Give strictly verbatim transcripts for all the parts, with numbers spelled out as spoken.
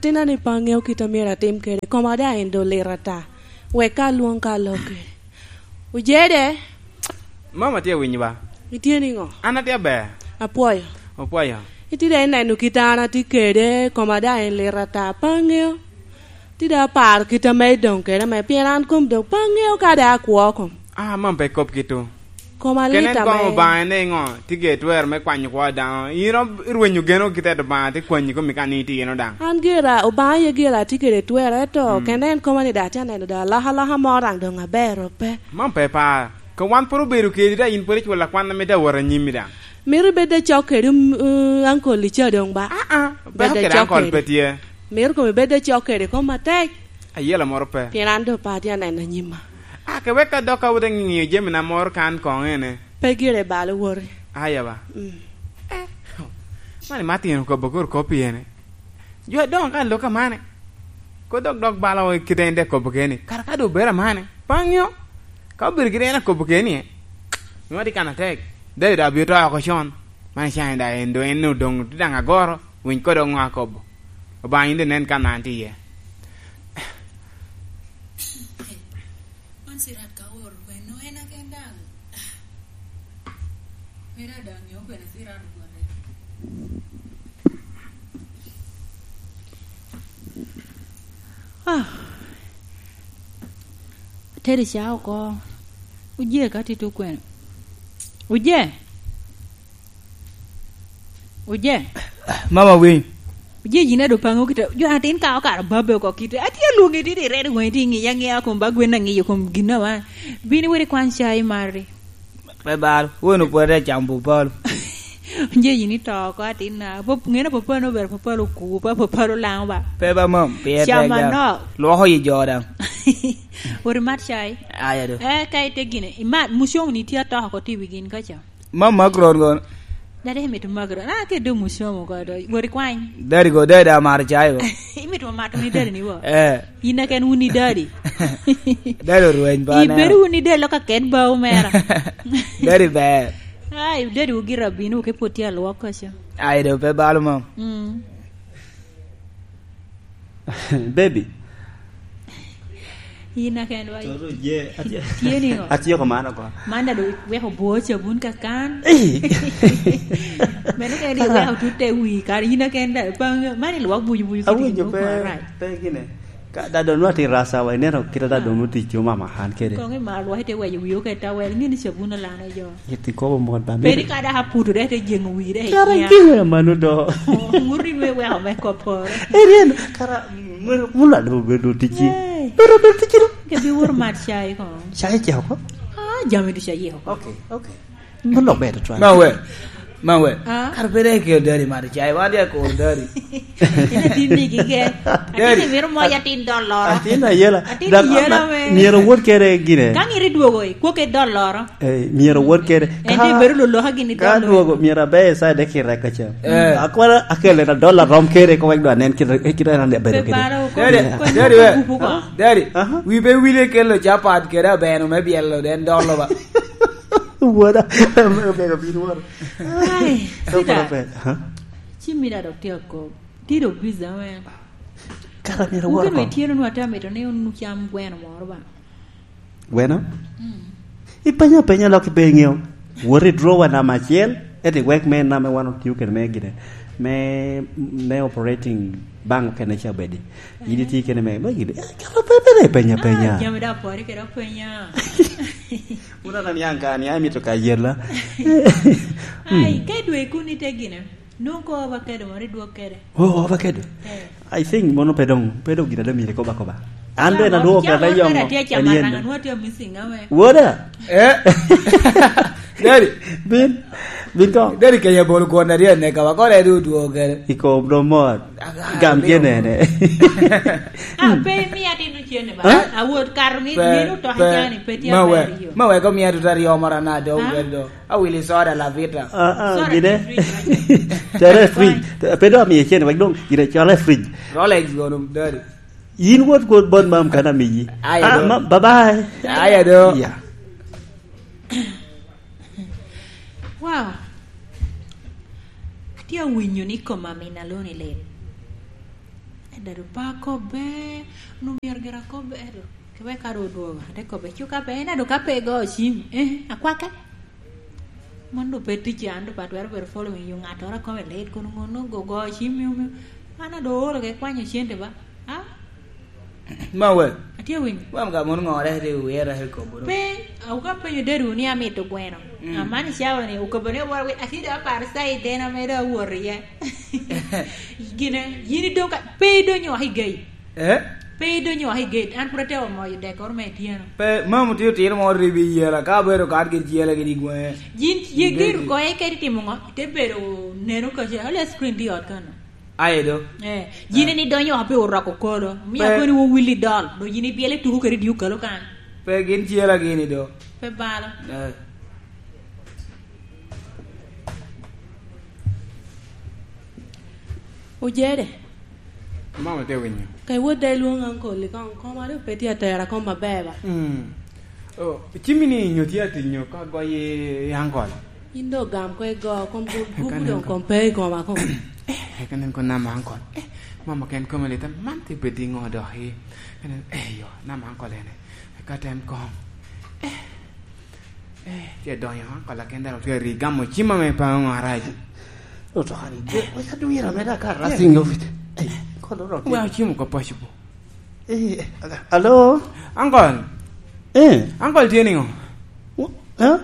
Atina ni pe aŋeo kit a myero atim kede, koma daŋ en doŋ lit ata. Wek ka alwoŋ ka alok kede. Ojede, Mom atye awinyo ba? Itye niŋo? An atye aber. Apwoyo. Opwoyo. Itye daŋ ineno kit an atye kede, koma daŋ en lit ata. Pe aŋeo. Tye daŋ aparo kit ame idoŋ kede ame, pien an kom doŋ pe aŋeo ka daŋ akwo kom. Ah, mom pe kop kit-tu. Koma lit ame. Kenen koŋ Obaŋa ni ŋo, tye gire twero me kwanyo kwo daŋ. In rom irwenyo geno kite Obaŋa, tye kwanyi komi ka ni itino daŋ. An gira, Obaŋa aye gira atye kede twero, eto kenen koma ni daŋ atye aneno daŋ alokaloka mo daŋ doŋ aber ope. Man pe par. Ka wan pwod obedo kedi daŋ, in pwod iculo akwan ame daŋ wot anyimmi daŋ. Mito ibed acok kede, mm, ankol ica doŋ ba? Ah, ah, peko kede ankol pe tye. Mito kom ibed acok kede kom atek. Ayela moro pe. Pien an doŋ pe atye aneno anyimma. Ake wek ka dok ka wote ŋiŋio jami na moro kan koŋ ene. Pe gire bal owoti. Aya ba. Mm. Eh, mani matino kobo kor kop i ene. Jo adoŋo ka lok amane. Ko dok dok bala o kite en dek kobo keni. Kara ka doŋ obedo amane. Paŋio. Ka obedo kite en akobo keni e. Nwa di kan atek. David abio to oko con. Man cani da en do en odoŋo ti daŋ agoro. Winy kodo ŋo akobo. Obaŋa in de nen kan an ti iye. Man sirat ka oro kweno en aken daŋ. Mera daŋ nyo kweno sirat ogwate. Ah. Teri ca oko. Uje ka tito kweno. Uje. Uje. Mama winy. Uje yin ado pango kita. Jo atin ka okaro babe oko kita. Ati alwongi ti di redo wongi ti ngiya ngiya kom ba gwen angiyo kom gina wa. Bini weri kwan chai mari. Pe bal, won opwote acamo pupalo. Uje yin ito oko atin na. Pop, ngene pupalo no ber pupalo ku, pa pupalo lango ba. Pe ba mam, pie Chama no. Lwoko yi jo daŋ. Weri mat chai. Aya do. Eh, ka ite gine. Imat, mucong ni tye atoko ko ti wi gin kaca. Mam Macron kono. Dada imito Macron. Ah, ke do musomo ko do. Wori kwany. Daddy go, daddy amaro chai go. Imito mato ni daddy ni wo. Eh. In aken wun ni daddy. Daddy orweny pa. Ibedo wun ni daddy loka ken ba omera. Daddy ber. Ai, daddy ugira bino ke poti alwok kacha. Ai do pe balo mam. Mm. Baby. In aken wa. Toto je, atye, tye ni o. Atye ko mano ko. Man da do weko bwo cabun ka kan. Eh. Meno kene di weko tute wi, kare in aken da, pa, man ilwak buju buju kiti. Awinjo pe, pe gine. Ka da do nwa ti rasa wa, ineno kita da do nuti chuma ma han kede. Kong ima lwak ite weyo wi oke tawel, ngini cabun alano jo. Yet ikobo mot ba. Peri ka dok aputo dek te jeŋo wi dek. Kara inya. Giwe mano do. Ŋuti me weko me koporo. Erien, kara, mula do bedo ticci. Hey. Bedo bedo ticci do. Ke bi wor mat chai ko. Chai chai ko? Ah, jami du chai ko. Okay, okay. Mano bedo twan. Ma we. Ma we. Ah? Kara pe dek ikelo dari mat chai, wan dek koro dari. Ina tin ni gige. Atin ni miro mo ya tin dollar. Atin ayela. Atin ayela me. Myero wot kere gine. Ka ngiri dwogo i, kwo ke dollar. Eh, myero wot kede. En te bedo loloka gini ka dolo. Dwogo, myero abe sa de kira ka cha. Eh. Akwara akele na dola rom kede ko wek dwa nen kira, kira na de bedo kede. Pe balo ko. Daddy, ko daddy, ko we. Gupu ko. Daddy, aha. Wi be wile kelo chapat kede abeno me bielo den dolo ba. Wuoda, me obedo bin wuoda. Ai, sweetheart. Aha. Cimmi da dok tye akop. Tye dok busy, amen. Kara myero awot oko. Itye nunu ate amito ni onucam gweno moro ba. Gweno? Mm. Ipenyo apenya lok ipe iŋeo. Wot i drawer namba acel, eti wek me namba wan otio kede me gine. Me, me operating bank okene ca obedi. In itye kene me, me gine. Eh, kara pe, pe, pe, penya, ah, penya. Jami da pori kede openya. Wun anani an ka, ni amito ka yela. Ai, mm, ka idwe kun ite gine. Nwoŋo ko obakedo moro idwok kede. Oh, obakedo. Eh. I think mono pe doŋ, pe doŋ gin ado myero ikoba koba. An bene adwoko kede ayongo. Tye acama raŋa, nwoŋo tye missing awe. Woda. Eh? Daddy. Bin, bin koŋ. Daddy kenya bolo gwon na tye aneka, wa kore du dwoko kede. I kom do mot. Ah, gam tye nene. Ah, pe mi atin ocene ba. Eh? Awot kato ni, pe, ni otoka pe, cani, pe tye ma aber we, yo. Ma we ko mi ato ta ryo moro na do, ah, bedo. Awili soda Lavita. Ah, ah, soda gine. Fridge, right? Tere fridge. Pe do amiye cene, wek dong gine cole fridge. Rolex gono, daddy. Yin wot, wot bot mam kana miyi. Aya do. Ah, ma, bye bye. Aya do. Yeah. Wow. Atye awinyo ni koma min aloni lit. Dado pe akobbe, onwoŋo myero gira akobbe, ento ke wek ka doŋ odwogo, ate kobbe, "Cuka pe, en ado ka pe igo cim, eh, akwake." Man doŋ pe ticca, an doŋ pe atwero bedo following you, ŋattoro akome lit, kono ŋo onwoŋo go, go cim, miyo, miyo. An ado ooro ke kwanyo cente ba. Ah? Ma we? Atye winyo. Wam ka mono ŋore, te wera, te kobo. Pe, awuka penyo dado ni amito gweno. Mm. Amani cawa ni, okobo ni wora wi, atye doŋ aparo side den ame doŋ awot iye. Gine, yin idong ka, pe idonyo oko i gate. Eh? Pe idonyo oko i gate. An pwod atye omoyo dek oro me ityeno. Pe, mam otye otino mo ribi yela, ka bedo kat gin ciyela gin i gwenge. Yin ye gate ko, eka itimo ŋo? Ite bedo neno kaca, ale screen tye i ot kano. Aye do. Eh, yin ni donyo oko pe oroko kolo. Mia koni wo Willy Doll. Do yin ibiele tuku kede diu kalo kan. Pe gin ciyela gini do. Pe balo. Eh. Ojede. Mama te winyo. Ka iwot da ilwong ankol i kong, koma doŋ pe tye atera kom maber ba. Mm. Oh, cimmi ni nyo tye atinyo ka goyo i ankol? Yin doŋ gam ko igo, kom bu-, bubu doŋ kom pe i koma kom. Eh, ka nen ko nama ankol. Eh, mama ken kome lita, man te bed i ŋo dok i? Ka nen, eh, yo, nama ankol ene. Ka tem kom. Eh. Eh, tye donyo, ha? Kola ken dano tye ri gamo cim ame pa ŋo arac. Lutokani, eh, wek adwira me da ka rasing office. Eh, kono rok. Wek acim oko paco po. Eh, alo? Uncle. Eh. Uncle tye niŋo? Wo-, eh?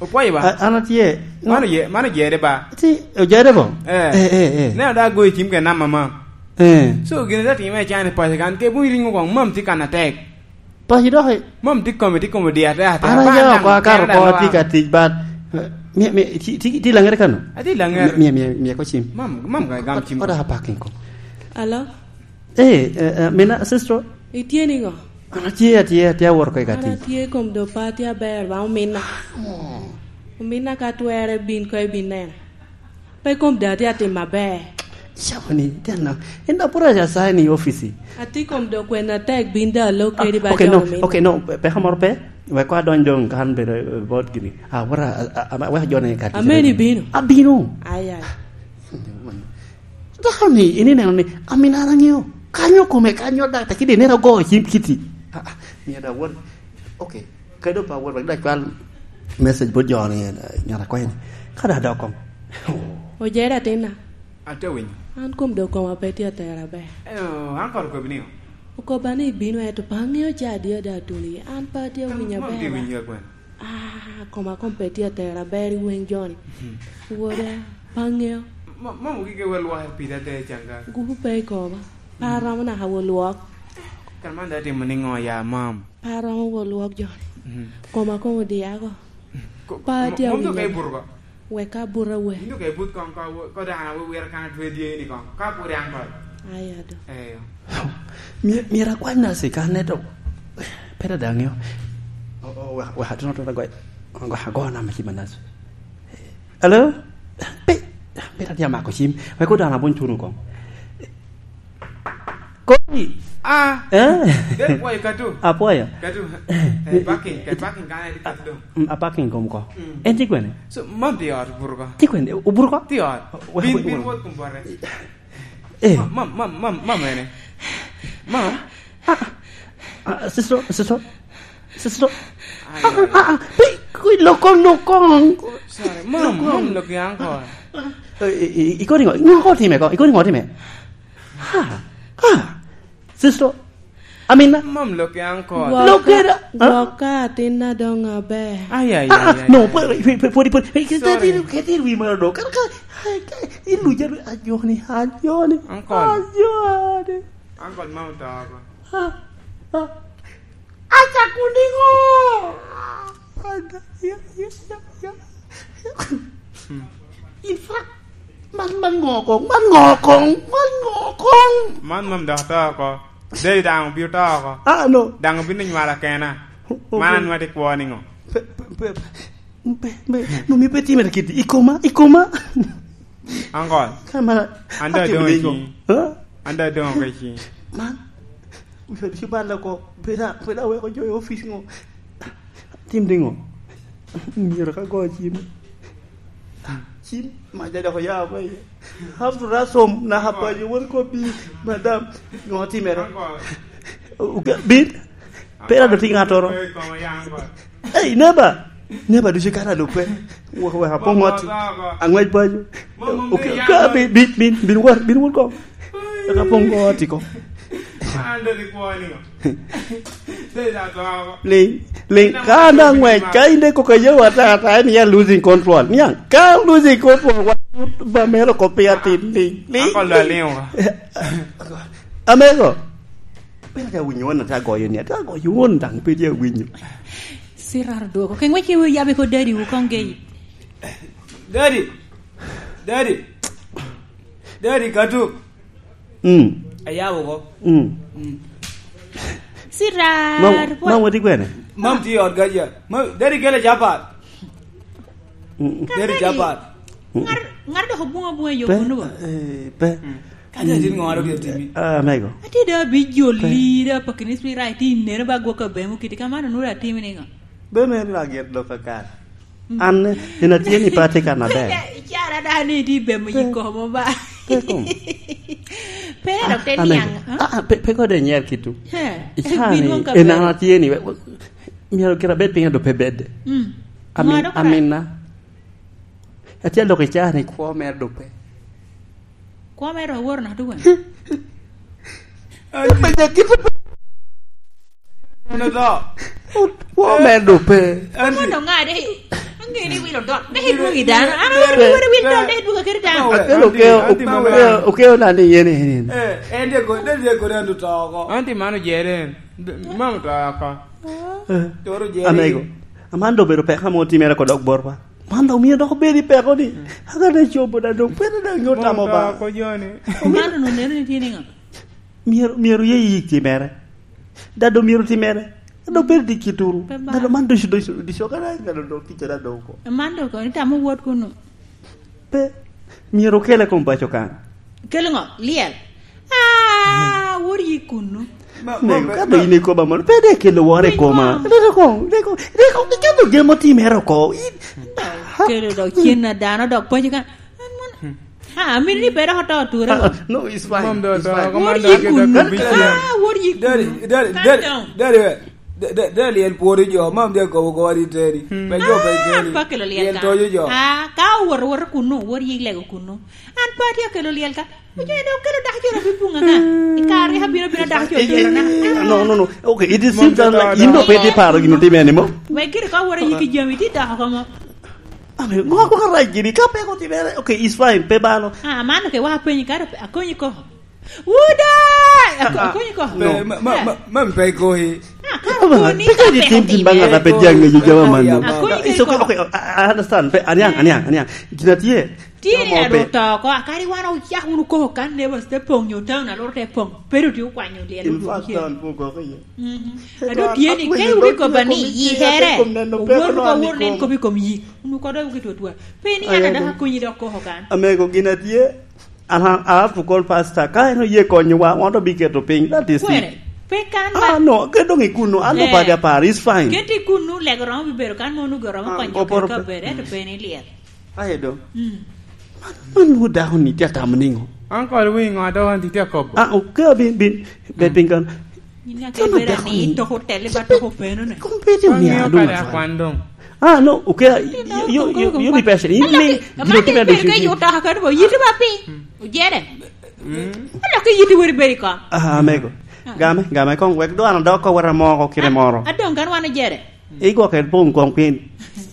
Opwoyo ba? A-, an atye. Mano ye, mano jere ba? Ti, ojere bo? Eh. Eh, eh, eh. Ne ada goyo cim ke nama ma. Eh. So, gin da time cani paco kan, ke bun ringo kong, mam tye kan atek. Paco dok i- Mam tye kome, tye kome diya te ate. An aya oko akato oko atye ka tic, but, eh, mi, mi, ti, ti, ti Laŋere kano? Ati Laŋere. Mi, mi, mi, mi ko cim. Mam, mam ka gam cim. Ot, ot a parking ko. Alo? Eh, eh, eh, mina, sister. Itye niŋo? An atye, atye, atye awot oko i ka tic. An atye kom do pa, atye aber ba ominna. Oh. Ominna ka twere bin ko ibin nena. Pe kom da atye atim maber. Cawa ni, tye anaka. En da pwod aca sign i office. Atye kom dok kwena tek bin da alok kedi ba okay, jo no, omin. Okay, no, pe, pe ka moro pe. Wek ko adony doŋ kan bedo, eh, bot gini. Ah, wara, a, a, a, wek ajone ka tic. Ameni bino. Abino. Ai, ai. Dako ni, in ineno ni, amin an aŋeo. Kanyo kome, kanyo da, te kidi nera go, cim kiti. Ah, ah, mi ada wot. Okay. Kadi opa wot, wek dok cwal message bot jo ni, eh, ngat akwayo ni, ka dok adok kong. Ojere atinna. Ate winyo. An kom dok koma pe tye atera ber. Eh, an koro okobi niŋo? Okoba ni ibino, ento pe aŋeo ca adi ada atuli. An pe atye awinyo aber. Mom tye winyo gwen. Ah, koma kom pe tye atera ber i weng joni. Mhm. Woda, pe aŋeo. Mo-, mom ogike wel waka pida te canga. Gupu pe i koma. Pe aromo naka wot lwok. Kan man dok atimo niŋo ya, mam? Pe aromo wot lwok joni. Mhm. Koma koŋ odiya oko. Ko-, pe atye mo-, mom awinyo. Dok ka ibuto oko? Wek abuto awe. Yin dok ka ibut kong, ko, ko dano awe wira kan atwe dye ni kong. Ka pwod an kod. Ai, ado. Eyo. My-, myero akwany nasi kan ne to. Pe dada aŋeo. O, o, wek, wek atino to agoy. Agoy, agoy nama cim a nasi. Hello? Pe, pe dada amako cim. Wek odano abony tunu kong. Kodi? Ah. Eh? Del pwoyo katu. Apwoyo. Katu. Eh, parking, ka parking kan edi katu do. Mm, a parking kom ko. Mm. En tye kwene? So, mam tye ot buru ko. Tye kwene? Oburu ko? Tye ot. Wa-, bin, wa-, bin wa-, wot kom bote. Eh. Ma-, mam, mam, mam, mam ene. Mam. Ah, ah, sister, sister. Sister. Ai, ah, ai, ah, ah, pe, kui lokong, lokong. Sorry, mam, lokong. Mam loki uncle. Eh, eh, eh, ikoni ngo? Ngo ko time ko? Ikoni ngo time? Ha, ha. Sister, Amina. Mam loki uncle. Gwok-, loki da, ha? Gwok ka atinna doŋ aber. Ay, ay, ah, ay, ah, ay, no, ay. Pwod, pwod, pwod, pwod, pwod. Sorry. Ketir, ketir wi malo do. Kan ka, ay, ka, iluja, ajoni, ajoni. Uncle. Ajoni. Uncle, mam to ko. Ha, ha. Acako niŋo? In fact, man, man ŋo koŋ, man ŋo koŋ, man ŋo koŋ? Man, man dok to oko. Dei daŋ obino to oko. Ah, no. Daŋ obino nywala kena. Man anwati kwo niŋo? Pe, pe, pe, pe, pe, no, mi pe timere kiti. Ikoma, ikoma. Uncle. Kama, an da adong i cii. Ha? An da adong oko i cii. Man, wiya tye balla oko. Pwod a-, pwod aweko jo i opic ŋo. Tim niŋo? Myero ka go cim. Cim, maja dok oya oko iye. After that som, naka paco, won kobbi, "Madam, ŋo timere?" Uke-, bin, pe rado ti ŋattoro. Hey, neba! Neba ducu kara lupe. Wek, wek apoŋ ot. Aŋwec paco. Uke-, ka, bin, bin, bin, bin wot, bin wot kong. Wek apoŋ ot i kong. An dok ikwo ni. Liŋ, liŋ, ka an aŋwec, ka in dek kok ayewa ata, ata, en ya losing control. Niaŋ, ka losing control, wa, ba mero kop piny atin, liŋ, liŋ. Uncle dok aliŋo ka. Amego. Pe ate awinyo won ate agoyo ni, ate agoyo won daŋ pe tye awinyo. Siraro dwoko. Ke ŋwec ke wi yabe ko daddy wu kong gei. Daddy. Daddy. Daddy, Katuk. Mm. Ayabo ko. Mm. Mm. Sirar, Mam, boy. Mam wati kwene? Mam ti ot gaja. Mam, dari kele chapat. Mm. Dari chapat. Ngar, ngar dok obunga bunga yo Pe, kono ba? Eh, pe. Mm. Kati atin ŋo aro di atimi? Ah, mego. Ati da bi joli, da pa kinis mi rai ti neno ba gwok abemo kiti kamano nura atimi ni ŋo? Be me lagit dok akal. Mm. An, en atye ni pe atye kan aber. Icara da ni ti bemo yiko mo ba. Pe kom. Pe dok te Ah, niang, ah, ah? Ah, pe, pe kode nyer kitu. He, Icara ni, en an atye ni, we, we, myero kira bed piny ado pe bed. Mm. Amin-, Ŋo dok ra? Amina. Atye aloko icara ni kwo mere dok pe. Kwo mere dok aworo na duwen? Menya kit Ano to? Kwo mere dok pe. Anti. Mono ŋa de? Ang'e ni wilo dot. De idwogo i dano. An awero ni wero wil dot, de idwogo kede dano. Akelo okeo, okeo, okeo na ni yen, yen, yen. Eh, en de go, de, de go, de andu to oko. Anti mano jere en. D-, mano to oko. Eh, Toro jere. Amego. Aman dok obedo peko ame otimere ko dok botwa. Man dok omio dok obedo i peko ni. Aka dok cobo da dok, pwede dok nyo tamo ba. Mano to oko joni. Mano no neno ni tye niŋo? Myero, myero ye yik timere. Dado myero timere. Dado bedo di kituru. Pe ba. Dado man ducu, ducu, ducu, kana dado dok ticca dado oko. Man dok itamo wot kunu. Pe, myero okele kom paco kan. Kelo ŋo? Lyel? Ah, wot yik kunu. Ma, ma, Nego, ma, ka do ma in ikoba mono, pe de kelo woro i koma. Nego. Nego kong, nego kong, nego kong, nego kong, gemo timere oko. In, Kelo dok cen a dano dok paco kan. An mono. Ah, amito ni pe dok oto ture Ah, oko. No, it's fine. Mam do It's to, fine. Kom Wot man do yik ake kunu. Dok bicel. Ah, wot yik Daddy, kunu. Daddy, Calm Daddy, down. Daddy, eh. Da-, da-, da lyel pworo jo, mam dya kobo kowa ni teni. Hmm. Pe jo pe Ah, teni. Pe okelo lyel Lyel ka. Toyo jo. Ah, ka owot, owot kunu, owot yik lego kunu. An pe atye akelo lyel ka. Ojo ene okelo dako jo robi bunga ka. I kare ka bino, bino dako jo Eh, eh, tero na. Eh, no, no, no. Okay, it is Mom seems that like jatara in do pe dako. Itye paro gin otimere ni mo. Wek gire ka wot yik i jami, ti dako ka mo. Ame, ngo ko rac gini, ka pe ko otimere, okay, it's fine, pe balo. Ah, mano ke wa penyi kare, akonyi ko. Wuda! Ako-, Ah, ah, akonyi ko. No. Pe, ma, ma, Eh. ma, ma pe koyi. Ah, kare Aba, koni peke ka di pe tim, tim banga otimere. Ka pe jang ngeyo jama man. Akonyi It's okay, ko. Okay, I, I understand. Pe, aniang, aniang, aniang. Gina tye. Tye ni Jama ado ope- to ko, akari wan ocak wunu koko kan neighbors te pong, nyo town alor te pong. Pero tye okwanyo lyel In oduogo fact, cen. Town pong koko iye. Mhm. Ado tye ni ke wubikoba ni yitere, owor ka wor nen kop i kom yi. Unu kodo wuki twatwa. Pe ni an adaka konyi dok koko kan. Amego gin atye. Aha, I have to call pastor. Ka en oye konyowa, wan obiketo piny. That is it. Kwene? Pe kan ba. Ah, no, ke dong ikuno. An dong padi apar. It's fine. Keti kunu lego romo bibero kan mo nugo romo Ah, konyo oporo ka pe- bere, to pe ni lyel. Aye do. Mm. Man, man nwoŋo dako ni tye atamo niŋo? Uncle Wing, ŋo dok an tye akobo? Ah, okay, bin, bin, be piny kan. Yin ake Tama bera dako ni ni. Toko tele ba toko peno ne. Kong pe tye Wan onia ŋeo dong kare atwal. Akwan dong. Ah, no, okay, you, you, you, you be patient. In ni, gino tye medo cuci. Ka yuto ka kadi bo yito ba pi. Ujere. Mm. Ano ke yito weri beri ko. Ah, amego. Ah. Game, game kong wek do an dok ko wera moko kire moro. Adong kan wan ojere. Igwoke pong kong piny.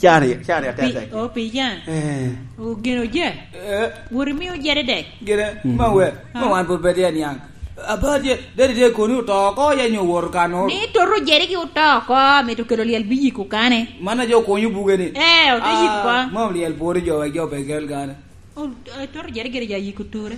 Cari, cari Pi, atete. O pi jan. Eh. O gin oje. Eh. Wori mi ojere dek. Gire, Mm. ma we, ma Ah. wan pud pe tye niang. Apa tye, dadi tye koni oto oko, ya nyo woro kano? Ni toto ojere ki oto oko, mito kelo lyel bi yiko kane. Mana jo konyo buge ni. Eh, ote yiko Ah, ko. Mom lyel pworo jo, wek jo pe kel kane. O, eh, toto ojere gire ja yiko ture.